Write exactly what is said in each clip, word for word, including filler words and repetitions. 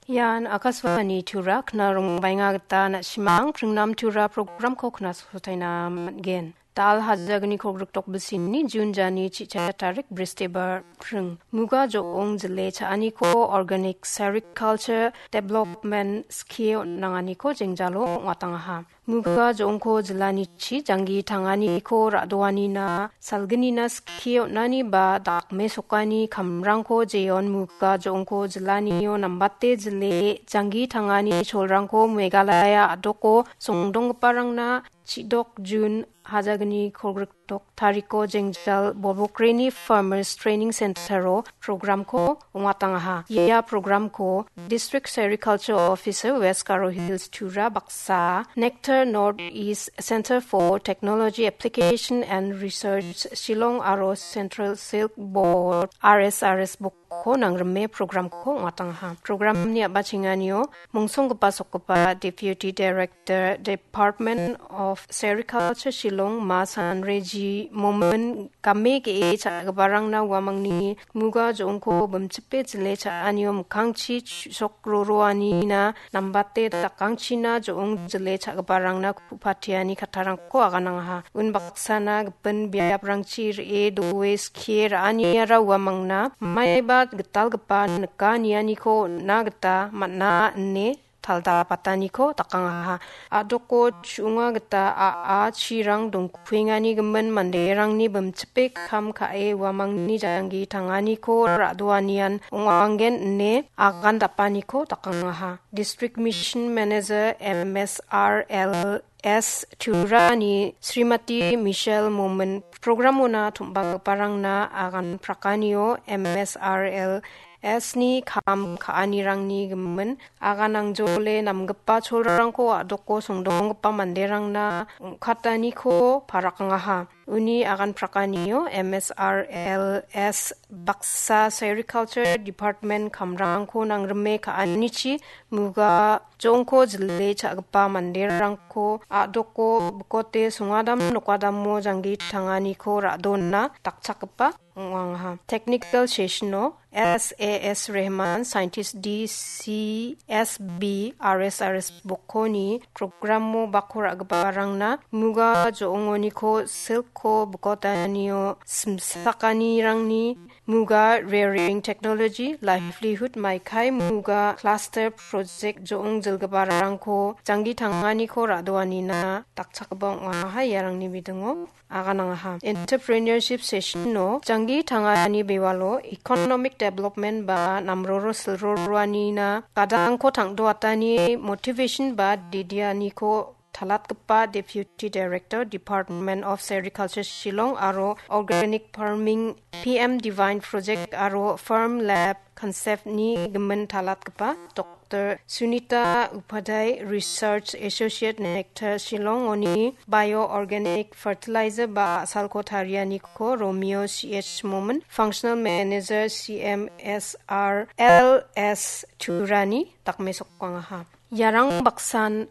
Ian Akashvani Tura, knarongbaenga gita na·simang pringnam Tura programko knasotaina man·gen. Dal hajagni kolgrik tokbisini Jun jani chicha tarik Bristibar pring. Muga jo·ong jile cha·aniko Organic Sericulture Development Scheme on·anganiko jengjalo ong·atangaha. Muga jo·ongko jilanichi janggi tanganiko ra·doanina, salginina skie on·ani ba dakmesokani kamrangko jeon muga jo·ongko jilanio nambate jile janggi tangani cholrangko Meghalaya a·doko songdonggiparangna chidok Jun hajagni kolgrik dok tariko jengjal Bobokreni Farmers Training Center-o programko ong·atangaha. Ia programko District Sericulture Officer West Garo Hills Tura baksa Nectar North East Center for Technology Application and Research Shillong aro Central Silk Board R S R S bok ko nangrime programko ong·atangaha. Programni a·bachenganio mongsonggipa sokgipa Deputy Director Department of Sericulture Shillong Ma Sanreji Momin game ge·e cha·giparangna uamangni muga jo·ongko bimchipe jile cha·anio mikkangchi chu-, sok roroanina nambate dakangchina jo·ong jile cha·giparangna ku·patiani kattarangko aganangaha. Unbaksana gipin biaprangchi re·e doe skie ra·aniara uamangna maiba gitalgipa nika nianiko on·na gita man·a ine taldapataniko dakangaha. A·doko chu·onga gita a·a chirang dongkuengani gimin manderangni bimchipe kam ka·e uamangni janggi tanganiko ra·doanian ong·anggen ine agan dapaniko dakangaha. District Mission Manager M S R L S Turani Srimati Michelle Momin programona tom·bagiparangna agan prakanio M S R L S ni kam ka·anirangni gimin agan angjole namgipa cholrangko a·doko songdonggipa manderangna ong·kataniko parakangaha. Uni agan prakanio M S R L S baksa Sericulture Department kamrangko nangrime ka·anichi muga jongko jile cha·gipa manderangko a·doko bikote songadam nokadamo janggi tanganiko ra·donna dakchakgipa ong·angaha. Technical session-o S A S Rehman, Scientist D C S B R S R S bokkoni programo bako ra·giparangna muga jo·ongoniko silko bikotanio simsakanirangni muga rearing technology, livelihood maikai muga cluster project jo·ong jilgiparangko janggi tanganiko ra·doanina dakchakgipa ong·aha iarangni bidingo aganangaha. Entrepreneurship session-o janggi tangani bewalo economic development ba namroro silroroanina gadangko tang·doatani motivation ba didianiko talatgipa Deputy Director, Department of Sericulture Shillong aro Organic Farming P M Divine Project aro Farm Lab Concept-ni gimin talatgipa Doctor Sunita Upadhyay, Research Associate Nectar Shillong-oni Bioorganic Fertilizer ba a·salko tarianiko Romeo C H Momin, Functional Manager C M S R L S Turani dakmesokangaha. Iarang baksan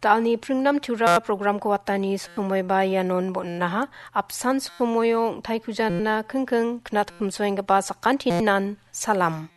Dalni pringnam Tura programko watani somoiba ianon bon·aha. Apsan somoio ong·taikujana kingking knatkumsoenggipa sakantinan salam.